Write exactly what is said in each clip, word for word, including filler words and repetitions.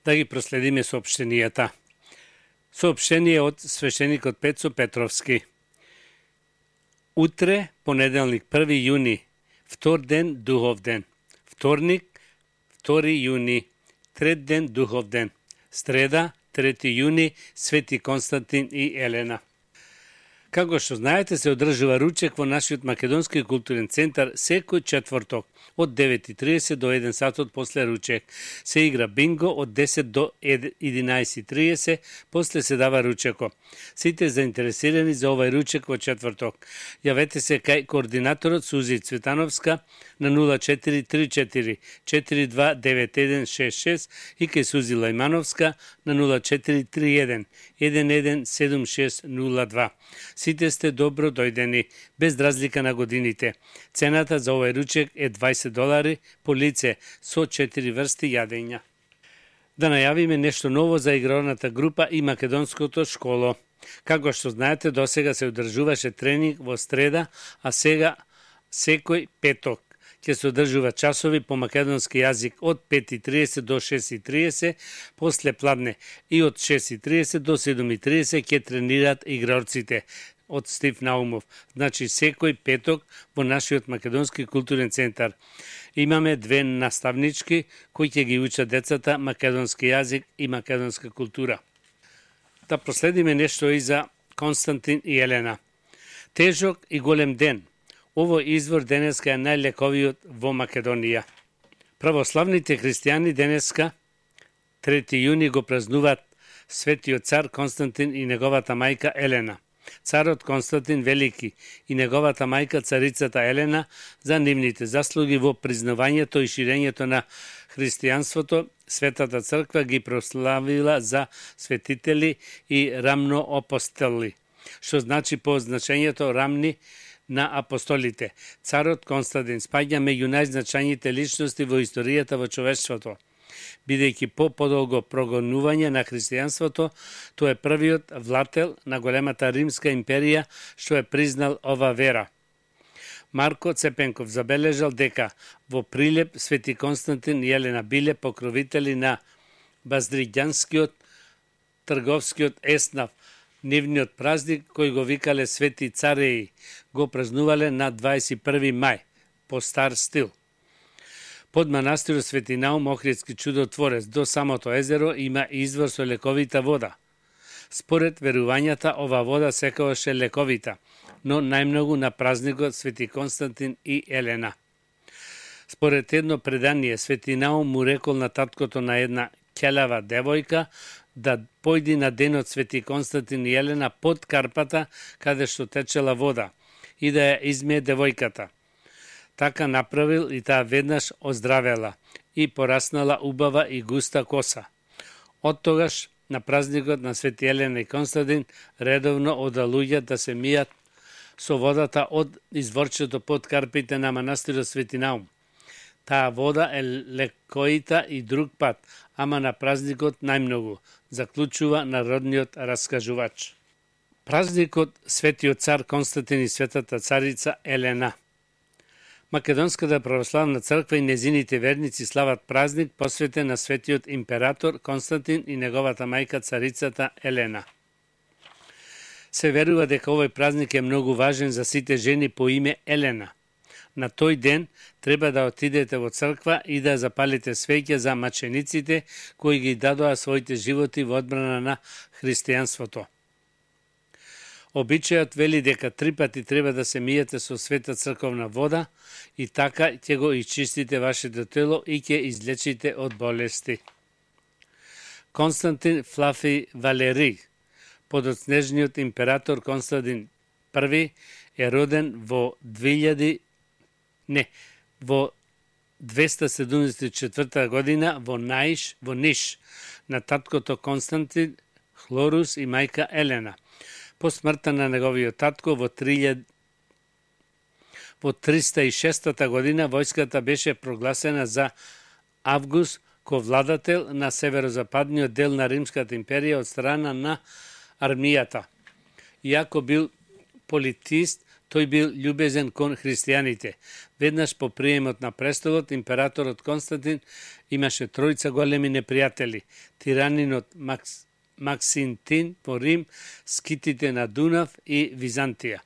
да ги проследиме соопштенијата. Соопштение од свештеникот Пецо Петровски. Утре, понеделник, први јуни, втор ден, духов ден. Вторник, втори јуни, трет ден, духов ден. Среда, трети јуни, Свети Константин и Елена. Како што знаете, се одржува ручек во нашиот Македонски културен центар секој четврток од девет и тридесет до еден сатот после ручек. Се игра бинго од десет до единаесет и тридесет, после се дава ручеко. Сите заинтересирани за овај ручек во четврток, јавете се кај координаторот Сузи Цветановска на нула четири три четири четири два девет еден шест шест и кај Сузи Лајмановска на нула четири три еден еден еден седум шест нула два. Сите сте добро дојдени, без разлика на годините. Цената за овој ручек е дваесет долари по лице со четири врсти јадења. Да најавиме нешто ново за игралната група и македонското школо. Како што знаете, досега се одржуваше тренинг во среда, а сега секој петок ќе се одржува часови по македонски јазик од пет и тридесет до шест и тридесет, после пладне и од шест и тридесет до седум и тридесет ќе тренираат игралците од Стив Наумов. Значи секој петок во нашиот Македонски културен центар. Имаме две наставнички кои ќе ги учат децата македонски јазик и македонска култура. Да проследиме нешто и за Константин и Елена. Тежок и голем ден. Овој извор денеска е најлековиот во Македонија. Православните христијани денеска, трети јуни, го празнуваат светиот цар Константин и неговата мајка Елена. Царот Константин Велики и неговата мајка царицата Елена за нивните заслуги во признавањето и ширењето на христијанството, Светата црква ги прославила за светители и рамноапостоли, што значи по значењето рамни на апостолите. Царот Константин спаѓа меѓу најзначајните личности во историјата во човештвото. Бидејќи по подолго прогонување на христијанството, тој е првиот влател на големата римска империја што е признал ова вера. Марко Цепенков забележал дека во Прилеп Свети Константин и Елена биле покровители на баздригјанскиот трговскиот еснав. Нивниот празник, кој го викале Свети Цареи, го празнувале на дваесет и први мај, по стар стил. Под манастирот Свети Наум Охридски чудотворец до самото езеро има извор со лековита вода. Според верувањата, ова вода секогаш е лековита, но најмногу на празникот Свети Константин и Елена. Според едно предание, Свети Наум му рекол на таткото на една ќелава девојка да појди на денот Свети Константин и Елена под карпата каде што течела вода и да ја измие девојката. Така направил и таа веднаш оздравела и пораснала убава и густа коса. Од тогаш на празникот на Свети Елена и Константин редовно ода луѓе да се мијат со водата од изворчето под карпите на манастирот Свети Наум. Таа вода е лекоита и друг пат, ама на празникот најмногу, заклучува народниот раскажувач. Празникот Светиот цар Константин и Светата царица Елена. Македонската православна црква и незините верници слават празник посветен на светиот император Константин и неговата мајка царицата Елена. Се верува дека овој празник е многу важен за сите жени по име Елена. На тој ден треба да отидете во црква и да запалите свеќа за мачениците кои ги дадоа своите животи во одбрана на христијанството. Обичајот вели дека три пати треба да се миете со света црковна вода и така ќе го исчистите вашето тело и ќе излечите од болести. Константин Флафи Валери, подоцнежниот император Константин први, е роден во две илјади не, во двеста седумдесет и четврта година во Наиш, во Ниш, на таткото Константин, Хлорус и мајка Елена. По смртта на неговиот татко во триста и шеста година војската беше прогласена за Август ко владател на северозападниот дел на Римската империја од страна на армијата. Иако бил политист, Тој бил љубезен кон христијаните. Веднаш по приемот на престолот, императорот Константин имаше тројца големи непријатели: тиранинот Макс, Максинтин во Рим, скитите на Дунав и Византија.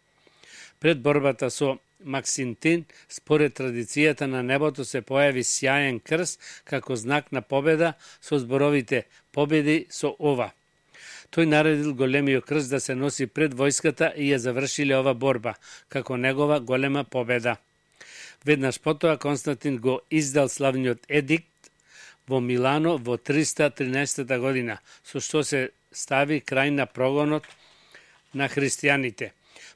Пред борбата со Максинтин, според традицијата на небото се појави сјаен крст како знак на победа со зборовите "Победи со ова". Тој наредил големиот крст да се носи пред војската и ја завршиле ова борба, како негова голема победа. Веднаш потоа Константин го издал славниот едикт во Милано во триста тринаесета година, со што се стави крај на прогонот на христијаните.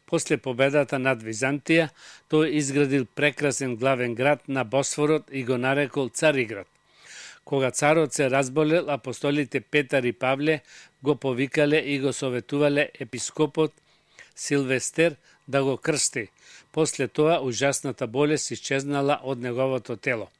После победата над Византија, тој изградил прекрасен главен град на Босфорот и го нарекол Цариград. Кога царот се разболел, апостолите Петар и Павле го повикале и го советувале епископот Силвестер да го крсти. После тоа ужасната болест исчезнала од неговото тело.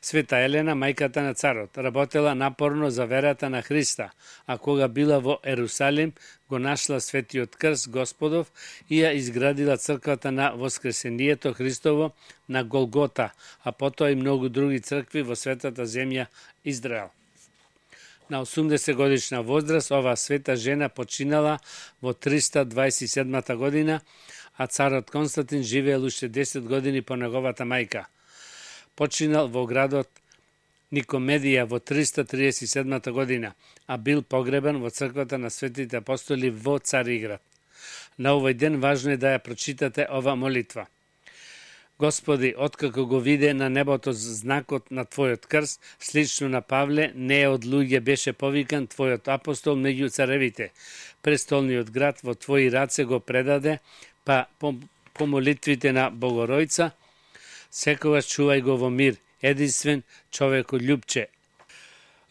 Света Елена, мајката на царот, работела напорно за верата на Христа, а кога била во Ерусалим, го нашла светиот крст Господов и ја изградила црквата на Воскресението Христово на Голгота, а потоа и многу други цркви во светата земја Израел. На осумдесет годишна возраст ова света жена починала во триста дваесет и седмата година, а царот Константин живеел уште десет години по неговата мајка. Починал во градот Никомедија во триста триесет и седмата година, а бил погребан во црквата на светите апостоли во Цариград. На овој ден важно е да ја прочитате ова молитва. Господи, откако го виде на небото знакот на Твојот крст, слично на Павле, не од луѓе беше повикан Твојот апостол меѓу царевите. Престолниот град во Твои раце го предаде, па по, по молитвите на Богоројца, секогаш чувај го во мир, единствен човеколюбче.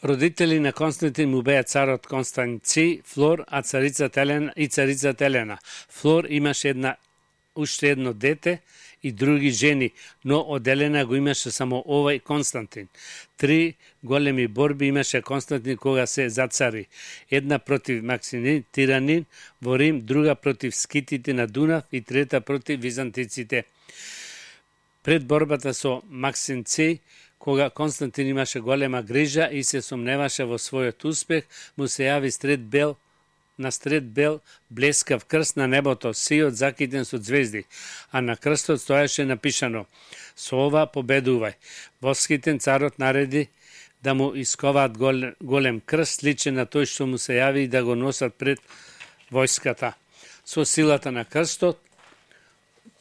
Родители на Константин му беа царот Констанци, Флор, а царицата Елена и царицата Елена. Флор имаше една уште едно дете и други жени, но од Елена го имаше само овај Константин. Три големи борби имаше Константин кога се зацари. Една против Максинин, тиранин во Рим, друга против скитите на Дунав и трета против византиците. Пред борбата со Максинци, кога Константин имаше голема грижа и се сомневаше во својот успех, му се јави стред бел, на стред бел блескав крст на небото, сиот закитен со звезди, а на крстот стоеше напишано: "Со ова победувај". Воскитен царот нареди да му исковаат голем, голем крст, сличен на тој што му се јави и да го носат пред војската. Со силата на крстот,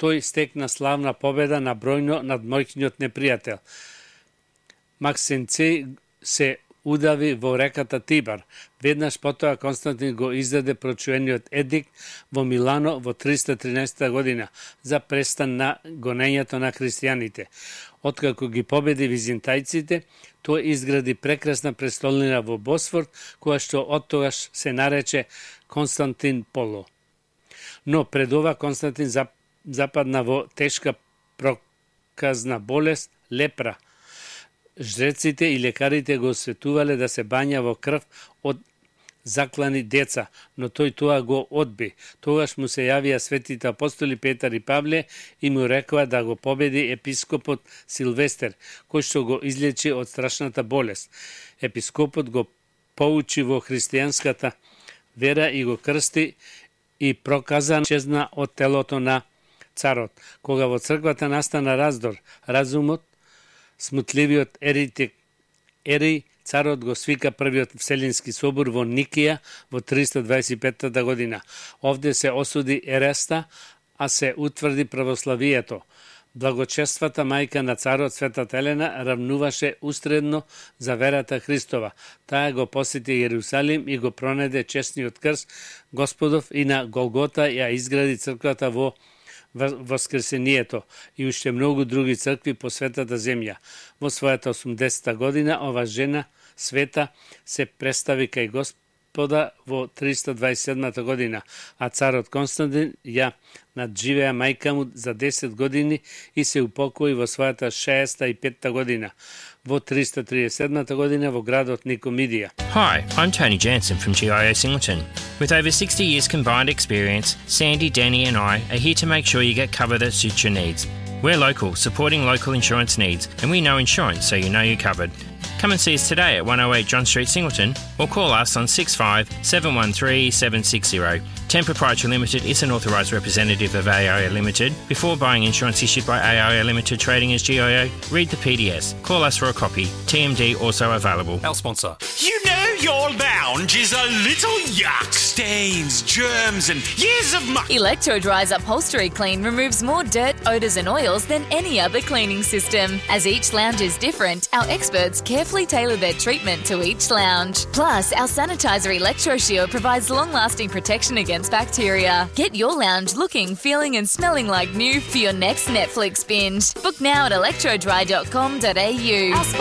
тој стекна славна победа на бројно над мојниот непријател. Максинци се удави во реката Тибар. Веднаш потоа Константин го издаде прочуениот едикт во Милано во триста тринаесета година за престан на гонењето на христијаните. Откако ги победи византајците, тој изгради прекрасна престолнина во Босфор, која што оттогаш се нарече Константин Поло. Но пред ова Константин западна во тешка проказна болест, лепра. Жреците и лекарите го осветувале да се бања во крв од заклани деца, но тој тоа го одби. Тогаш му се јавија светите апостоли Петар и Павле и му рекоа да го победи епископот Силвестер, кој што го излечи од страшната болест. Епископот го поучи во христијанската вера и го крсти и проказан чезна од телото на царот. Кога во црквата настана раздор, разумот, смутливиот еритик Ери, царот го свика првиот Вселенски собор во Никија во триста дваесет и петата година. Овде се осуди ереста, а се утврди православието. Благочествата мајка на царот Светата Елена равнуваше устредно за верата Христова. Таа го посети Јерусалим и го пронеде честниот крст Господов и на Голгота ја изгради црквата во Воскресението и уште многу други цркви по светата земја. Во својата осумдесета година ова жена света се представи кај Господа во триста дваесет и седмата година, а царот Константин ја надживеа мајка му за десет години и се упокои во својата шеесет и петта година. во триста триесет и седмата година во градот Никомидија. Hi, I'm Tony Jansen from G I O Singleton. With over sixty years combined experience, Sandy, Danny and I are here to make sure you get cover that suits your needs. We're local, supporting local insurance needs, and we know insurance so you know you're covered. Come and see us today at one oh eight John Street, Singleton, or call us on six five seven one three seven six zero. Ten Proprietary Limited is an authorised representative of A I O Limited. Before buying insurance issued by A I O Limited trading as G I O, read the P D S. Call us for a copy. T M D also available. Our sponsor. You know your lounge is a little yuck. Stains, germs and years of muck. Electro-Dry's Upholstery Clean removes more dirt, odours and oils than any other cleaning system. As each lounge is different, our experts carefully tailor their treatment to each lounge. Plus, our sanitizer Electro-Shield provides long-lasting protection against bacteria. Get your lounge looking, feeling and smelling like new for your next Netflix binge. Book now at electro dry dot com dot a u.